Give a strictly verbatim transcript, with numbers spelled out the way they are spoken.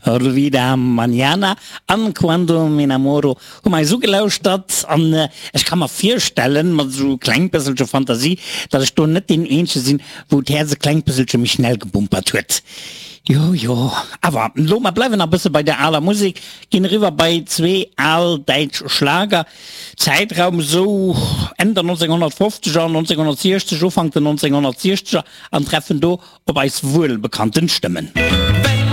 Olvida Mañana an Cuando M'Enamoro hu mer eis ugelauschtert an ech ka mer virstellen, mat esou e kleng bësselche Fantasie, datt ech do net deen eenzege sinn, wou d'Häerz e klengt bësselche méi schnell gebumpert huet. Jo, jo, awer elo, mer bleiwen nach e bësse bei der aler Musek, ginn eriwwer bei zwee al däitsch Schlager, Zäitraum esou Enn der nonzénghonnertfofzeger, nonzénghonnertsiechzeg, Ufank den nonzénghonnertsiechzeger, an treffen do op eis wuelbekannten Stëmmen. Wenn